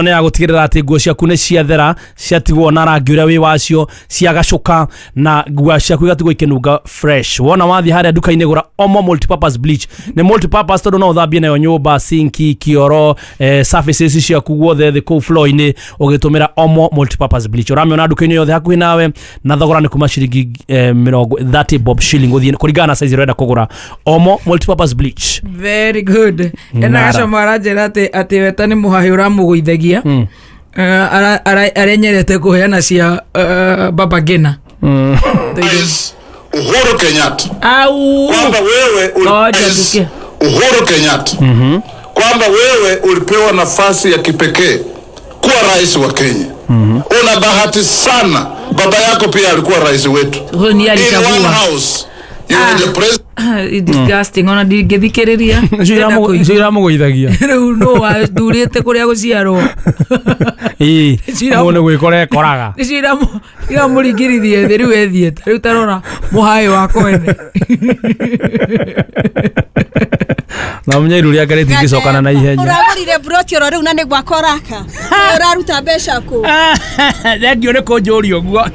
Nĩ ya gũtigĩrĩra atĩ nguo ciaku nĩ ciathera, ciatigwo na rangi ũrĩa wĩ wacio, ciagacũka na nguo ciaku igatigwo ikĩnunga fresh. Wona wathiĩ harĩa nduka-inĩ gũra Omo multipurpose bleach. Nĩ multipurpose tondũ no ũthambie nayo nyũmba, sinki, kĩoro, surfaces ciaku guothe thĩ kũu floor-inĩ ũgĩtũmĩra Omo multipurpose bleach. Ũramĩona nduka-inĩ yothe hakuhĩ nawe na thogora nĩ kuma ciringi mĩrongo 30 bob shilling gũthiĩ kũringana na size ĩrĩa ũrenda kũgũra. Omo multipurpose bleach. Very good. Ena Nara. gacoma aranjĩra atĩ weta nĩ mũhahĩ ũramũgũithagia. Arenyerete kũheana cia Baba Ngina. Uhuru Kenyatta Au. kwamba wewe Ngoja tusikie. Uhuru Kenyatta kwamba wewe ulipewa nafasi ya kipekee kuwa rais wa Kenya. Una bahati sana, baba yako pia alikuwa rais wetu. Huyo ni In one alichagua. house you were the president. Disgusting ona ndingĩthikĩrĩria. Ndĩrenda kũigua. Icio iramũgũithagia. Rĩu nũ wathurĩte kũrĩa gũciarwo. Ĩĩ, Cira- mũndũ nĩ gwĩkora ekoraga. Nĩcio iramũringĩrithie thĩ rĩu ethiĩte. Rĩu tarora mũhaĩ wa kwene. Na ũmenye iru rĩake rĩtingĩcokana na ihenya. Ũragũrire broti oro rĩu na nĩ gwaka ũraka. Ũraruta mbeca kũ? Thengio nĩ kũnjũria ũguo.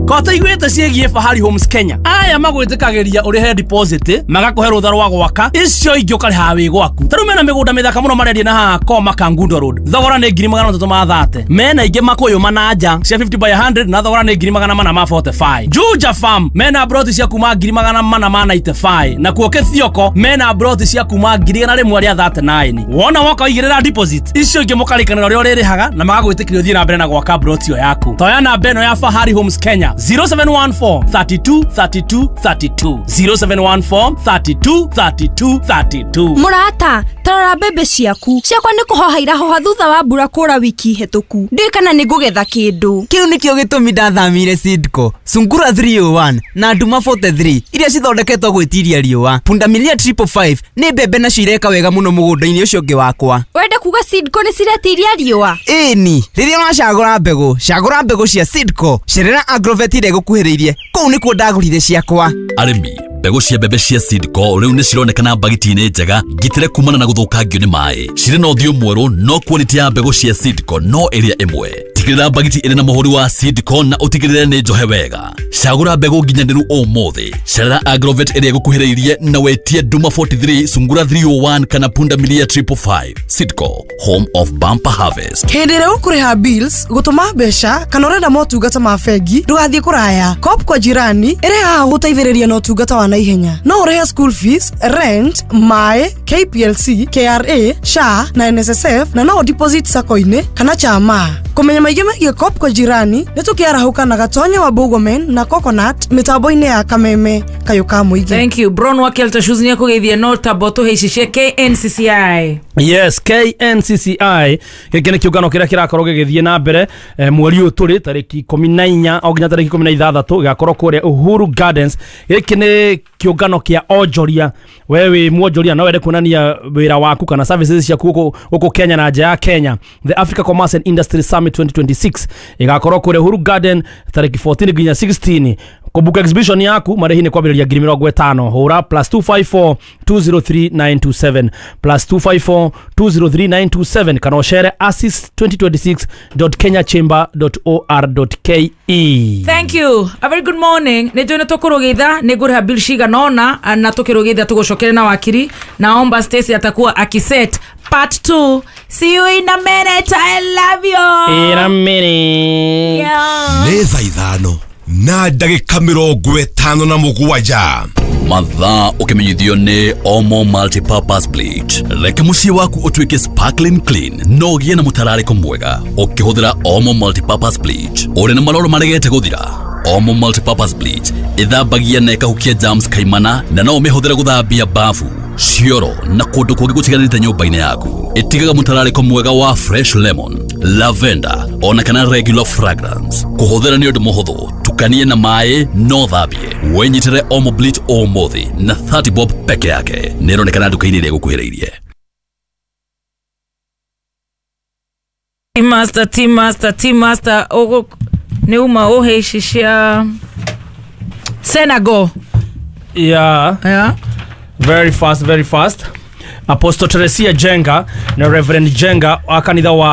Ko tũiguĩte ciĩgiĩ Fahari Homes Kenya. Aya magwĩtĩkagĩria ũrĩhe deposit, magakũhe rũtha rwa gwaka, icio ingĩ ũkarĩhaga wĩ gwaku. Ta rĩu mena mĩgũnda mĩthaka mũno marendia na haha Koma Kangundo Road. Thogora nĩ 330,000. Mena ingĩ Makũyũ Mananja cia 50 by 100 na thogora nĩ 445,000. Juja Farm mena broti cia kuma 495,000. Na kuo Kĩthioko mena broti cia kuma 139,000. Wona woka ũigĩrĩra deposit, icio ingĩ mũkarĩkanĩra ũrĩa ũrĩrĩhaga na magagwĩtĩkĩria ũthiĩ na mbere na gwaka broti ĩyo yaku. Toya namba ĩno ya Fahari Homes Kenya 0714 32 32 32 0714 32 32 32. Mũrata, tarora mbembe ciaku. Ciakwa nĩ kũhoha irahoha thutha wa mbura kũra wiki hĩtũku. Ndiũĩ kana nĩ ngũgetha kĩndũ. Kĩu nĩkĩo gĩtũmi ndathamire Seedco Sungura 301 na Nduma 43 iria cithondeketwo gwĩtiria riũa. Pundamilia 555 nĩ mbembe nacio ireka wega mũno mũgũnda-inĩ ũcio ũngĩ wakwa. Wende kuga Seedco nĩ ciretiria riũa? Ĩni, rĩrĩa ũracagũra mbegũ, cagũra mbegũ cia Seedco. Cerera Agrovet ĩrĩa ĩgũkuhĩrĩirie, kũu nĩkuo ndagũrire ciakwa. Arĩmi, mbegũ cia mbembe cia Seedco rĩu nĩ cironekana mbagiti-inĩ njega ngitĩre kumana na gũthũkangio nĩ maĩ. Cirĩ na ũthiũ mwerũ no quality ya mbegũ cia Seedco no ĩrĩa ĩmwe. Tigĩrĩra mbagiti ĩrĩ na mũhũri wa Seedco na ũtigĩrĩre nĩ njohe wega. Cagũra mbegũ nginyanĩru ũmũthĩ. Cerera Agrovet ĩrĩa ĩgũkuhĩrĩirie na wetie Nduma 43, Sungura 301 kana Pundamilia 555. Seedco, home of bumper harvest. Hĩndĩ ĩrĩa ũkũrĩha bills, gũtũma mbeca kana ũrenda motungata ma bengi, ndũgathiĩ kũraya. Coop kwa Jirani ĩrĩ haha gũteithĩrĩria na ũtungata wa naihenya. No ũrĩhe school fees, rent, maĩ, KPLC, KRA, SHA na NSSF na no deposit sacco-inĩ kana chama. Kũmenya maingĩ megiĩ Coop kwa Jirani nĩ tũkĩarahũka na Gatonya wa Bũgomen na Coconut mĩtambo-inĩ ya Kameme kayũ ka mũingĩ. Thank you. Bron wa Kelta Shoes nĩ akũgeithia no tabo tũhĩcicie KNCCI. Yes, KNCCI gĩkĩ nĩ kĩũngano kĩrĩa kĩrakorwo gĩgĩthiĩ na mbere mweri ũyũ tũrĩ tarĩki 14 o nginya tarĩki 16 gĩgakorwo kũrĩa Uhuru Gardens. Gĩkĩ nĩ kĩũngano kĩa onjoria. We wĩ mwonjoria no wende kuonania wĩra waku kana services ciaku gũkũ Kenya na nja ya Kenya. The Africa Commerce and Industry Summit 2026 ĩgakorwo kũrĩa Uhuru Garden tarĩki 14 nginya 16. Kũbuka exhibition yaku marĩhi nĩ kwambĩrĩria 50,000. Hũra +254 203 927 +254 203 927 kana ũcere asis2026.kenyachamber.or.ke. Thank you. A very good morning. Nĩ njũĩ nĩ tũkũrũgĩtha nĩ ngũrĩha bill cigana ũna na tũkĩrũgĩtha tũgũcokere na wakiri. Naomba Stacy atakuwa akiset part 2. See you in a minute. I love you. In a minute. Yeah. Nĩ thaa 5 na ndagĩka 57. Mathaa ũkĩmenyithio nĩ Omo Multipurpose Bleach. Reke mũciĩ waku ũtuĩke sparkling clean no ũgĩe na mũtararĩko mwega ũkĩhũthĩra Omo Multipurpose Bleach. Ũrĩ na maroro maregete gũthira? Omo Multipurpose Bleach ĩthambagia na ĩkahukia germs kaimana na no ũmĩhũthĩre gũthambia bafu, cioro na kũndũ kũngĩ gũtiganĩte nyũmba-inĩ yaku. Ĩtigaga mũtararĩko mwega wa fresh lemon, lavender ona kana regular fragrance. Kũhũthĩra nĩ ũndũ mũhũthũ, tukanie na maĩ no thambie. Wĩnyitĩre Omo Bleach ũmũthĩ na 30 bob peke yake. Nĩ ĩronekana nduka-inĩ ĩrĩa ĩgũkuhĩrĩirie. Team Master, Team Master, Team Master nĩ uma ũhĩcicia Senegal. Yeah. Yeah. Very fast, very fast. Apostle Teresia Jenga na Reverend Jenga wa kanitha wa